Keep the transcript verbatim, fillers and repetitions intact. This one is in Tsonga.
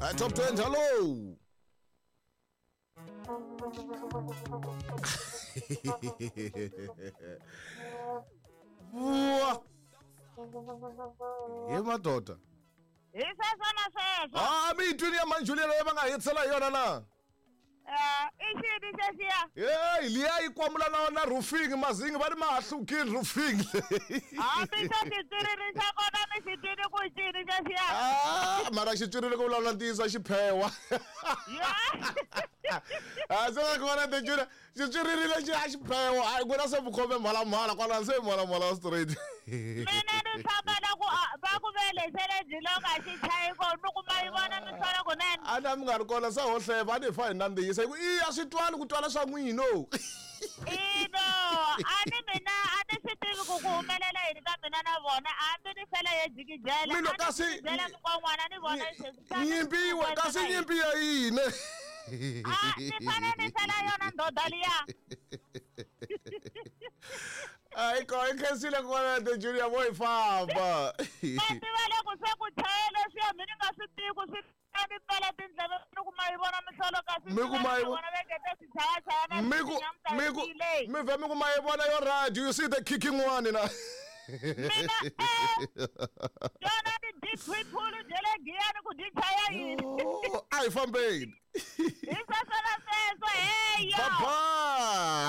Hi top twenty hello. Wa. Ye madoda. Hi sweswo na sweswo. Ah, mi twini ya Manjulia leyi va nga hetisela hi yona na? Eh, i xini xexiya? Hey, liya yi kwamula na na roofing mazingi va ri ma ha hlukile roofing. Hambi xo xitswiriri xa kona mi xi twini ku cini xexiya? Ah, mara xitswiriri ku vulavula ntiyiso xi phewa. Ya. Ah, se va kona te Julia, xitswiriri lexi a xi phewa. Hayi ku na se vukhome mhalamhala kwala se mhalamhala straight. Mina ni tshama na ku va ku velesele dzilonga xi chayi ko ni kuma yi vona mihlolo kunene. A na mi nga ri kona se ho hleva a ni fa hi nandzihisa hi ku i a swi twali ku twala swa n'wino. Ino, a ni mina a ni swi tivi ku ku humelela yini ka mina na vona hambi ni fela ye jikijela. Mino kasi byela mukon'wana ni vona nyimpi yiwe kasi nyimpi ya yini? Ah, ni fane ni fela yona ndoda liya. Ai ko i khensile kona te Julia boy famba. Va tiva loko se ku chaya leswiya mi ni nga swi tivi ku swi ni pfala tindleve ni kuma yi vona mihlolo kasi Mi kuma yi vona va ngete swi chayachaya na Mi ku mi ku mi vhe mi kuma yi vona yo radio you see the kicking one na. Mina eh yona ni deep phulu bya le Giyani ku dyi chaya yini. A hi fambeni. Hi sweswo na sweswo heya. Bye bye.